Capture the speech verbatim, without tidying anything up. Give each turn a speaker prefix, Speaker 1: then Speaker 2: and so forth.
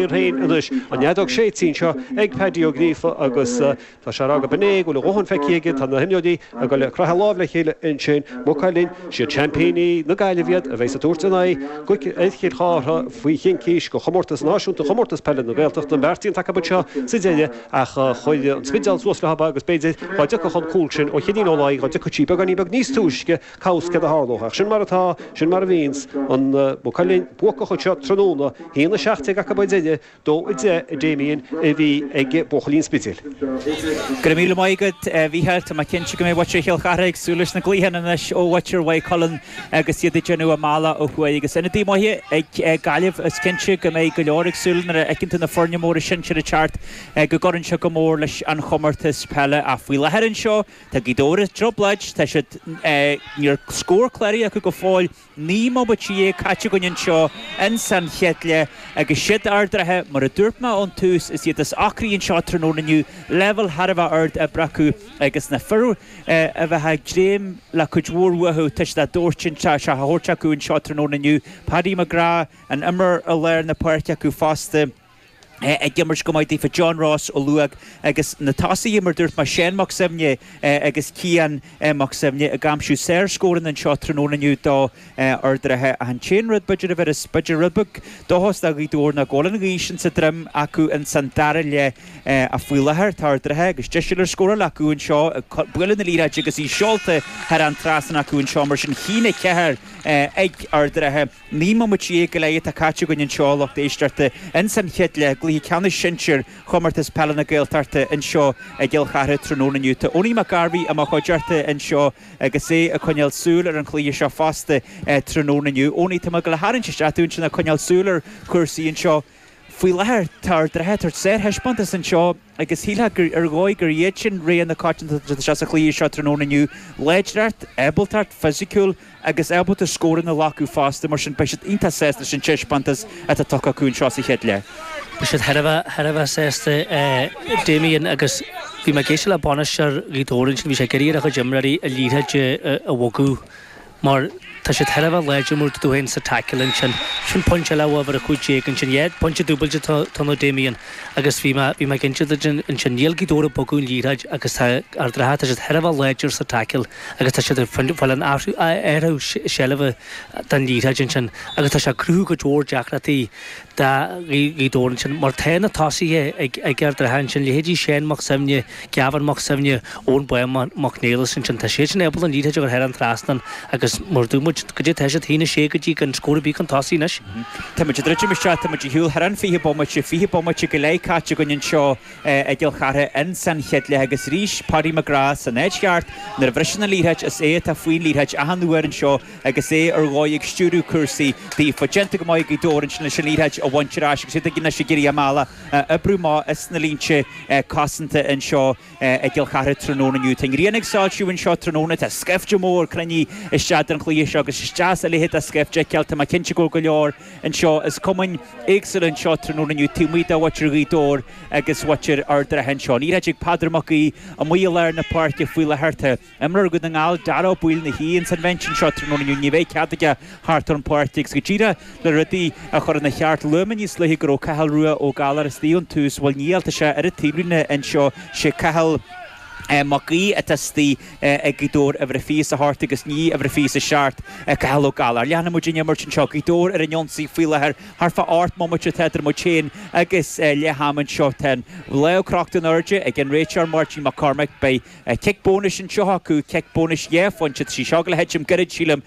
Speaker 1: Féin anois an fheadóg séidte anseo ag Paddy Ó Gríofa agus tá sé rá go bené go bhfuil a dhóthain feicthe aige. Tá na himreoirí ag dul ag croitheadh lámh le chéile ansin. Maigh Cuilinn, siad seaimpíní na Gaillimhe iad a bheidh ag tabhairt in aghaidh Chill Chartha faoi chincís go chomórtas náisiúnta chomórtas peile na Gaeltachta an beartaíonn acu seo sa deireadh ach chuir an Spidéal suas le agus b'fhéidir dá dtiocfadh an cúl sin ó Chinín ó lá dá dtiocfadh sí beagáinín beag níos túisce cá bhfios céard a tharlódh ach sin mar atá, sin mar a bhíonns an Maigh Cuilinn buacach seo tráthnóna haon a seacht déag acu duine dó a deich a Damien a bhí ag buachaillí an Spidéil.
Speaker 2: Go míle maith agat Mhícheáil. Tá mé cinnte go mbeidh muintir Chill Chartha ag súil leis na gcluichí anois ó mhuintir Mhaigh Cuilinn agus iad ag déanamh a mbealach ó thuaidh agus ionadaí maithe ag Gaillimh is cinnte go mbeidh go leor ag súil nuair a fheiceann tú na foirne móra sinsir ag teacht go gcuireann sé go mór leis an chomórtas peile a faoi láthair anseo Tá Gaoth Dobhair i dtrioblóid tá siad níl scór cláraithe acu go fóill naoi mbomaite déag caite againn anseo in san chéad leath agus siad Ard an Rátha mar a dúirt mé ón tús is iad is ocraí anseo tráthnóna inniu leibhéal thar a bheith ard oibre acu agus na fir a bheith ag dréim le cuid mhór uathu tá siad á dtabhairt sé a thabhairt acu anseo tráthnóna inniu Paddy McGrath an imreoir i lár na páirce acu fosta. Ag imirt go maith daofa John Ross ó Luag agus na tosaithe mar dúirt mé Seán Mac Suibhne agus Cian Mac Suibhne ag aimsiú saorscóranna anseo tráthnóna inniu do Ard an Rátha ach an t-aon rud b'fhéidir a bheith b'fhéidir rud beag dóchas do Ghaoth Dobhair ná go bhfuil an ghaoth sin sa droim acu in san dara leath a faoi láthair tá Ard an Rátha agus deis ar scóráil acu anseo bualadh na liathróide agus í seolta thar an trasnán acu anseo mar sin a haon a ceathair ag Ard an Rátha. Naoi mbomaite déag go leith atá caite againn anseo lucht éisteachta in san chéad leath gcluiche ceannais sinsir chomórtas peile na Gaeltachta anseo i gCill Chartha tráthnóna inniu. Tá Owenie McGarvey i mo chuideachta anseo agus é ag coinneáil súil ar an chluiche seo fosta tráthnóna inniu. Owenie tá mé ag dul a tharraingt isteach ansin ag coinneáil súil ar chúrsaí anseo. Faoi láthair tá Ard an Rátha ag tabhairt sárthaispeántas anseo agus shílfeá gur ar dhóigh gur iad sin rogha na coitianta seo sa chluiche seo tráthnóna inniu. Láidreacht, ábaltacht fisiciúil agus ábalta scóranna a ghlacadh fosta mar sin beidh siad iontach sásta leis an taispeántas atá tugtha acu anseo sa chéad leath.
Speaker 3: Beidh siad thar a bheith thar a bheith sásta Damien agus bhí mé ag éisteacht le bainisteoir Ghaoth Dobhair ansin bhí sé ag iarraidh ar a chuid imreoirí an liathróid a bhogadh mar tá siad thar a bheith láidir mar tú féin sa tackle ansin. Sin pointe eile uimhir a cúig déag ansin yeah pointe dúbailte tá nó Damien agus bhí mé bhí mé cinnte ansin níl Gaoth Dobhair ag bogadh an liathróid agus tá Ard an Rátha tá siad thar a bheith láidir sa tackle agus tá siad ag fáil an athrú athrú seilbhe den liathróid ansin agus tá sé ag cruthú cuid mhór deacrachtaí do Ghaoth Dobhair ansin mar tá na tosaithe ag ag Ard an Rátha ansin leithéidí Seán Mac Suibhne, Gavin Mac Suibhne, Eoin Bán Mac Niallais ansin tá siad sin ábalta an liathróid a chur thar an trasnán agus mar dúirt muid go dtí tá siad haon a sé go dtí gan scór ar bith chun tosaigh anois.
Speaker 2: Tá muid ag druidim isteach tá muid ar shiúl thar an fiche bomaite fiche bomaite go leith caite againn anseo i gCill Chartha in san chéad leath agus arís Paddy McGrath san áit cheart nuair a bhriseann an liathróid is é atá faoin liathróid achan uair anseo agus é ar dhóigh ag stiúradh cúrsaí daofa déanta go maith Gaoth Dobhair ansin leis an liathróid a bhaint ar ais agus iad ag anois ag iarraidh a mbealach a oibriú amach is na línte cosanta anseo i gCill Chartha tráthnóna inniu. Tá an ghrian ag soilsiú anseo tráthnóna tá scaifte mór cruinnithe isteach don chluiche seo agus isteach a leithéid de scaifte Tá mé cinnte go go leor anseo is cumainn éagsúla anseo tráthnóna inniu taobh amuigh de mhuintir Ghaoth Dobhair agus mhuintir Ard an Rátha anseo. Ní ag Peadar Mac Aoidh amuigh i lár na páirce faoi láthair imreoir Dhún na nGall Dara Ó Baoill ina shuí ins an bhinse anseo tráthnóna inniu ní bheidh cead aige thart ar an pháirc agus go díreach le rudaí a chur ina cheart luaigh mé níos luaithe go raibh Cathal Rua Ó Gallchóir istigh ón tús bhuel níl tá sé ar an taobhlíne anseo sé Cathal Mac Aoidh atá istigh ag Gaoth Dobhair uimhir a fiche is a hocht agus ní uimhir a fiche is a seacht Cathal Ó Gallchóir. Leanfaidh muid an imirt anseo Gaoth Dobhair ar an ionsaí faoi láthair thart fá ocht mbomaite atá idir muid féin agus leath ama anseo tá an lámh crochta in airde ag an réiteoir Máirtín Mac Cormaic beidh cic bónais anseo acu cic bónais dhá phointe sí seo le thitim gairid sílim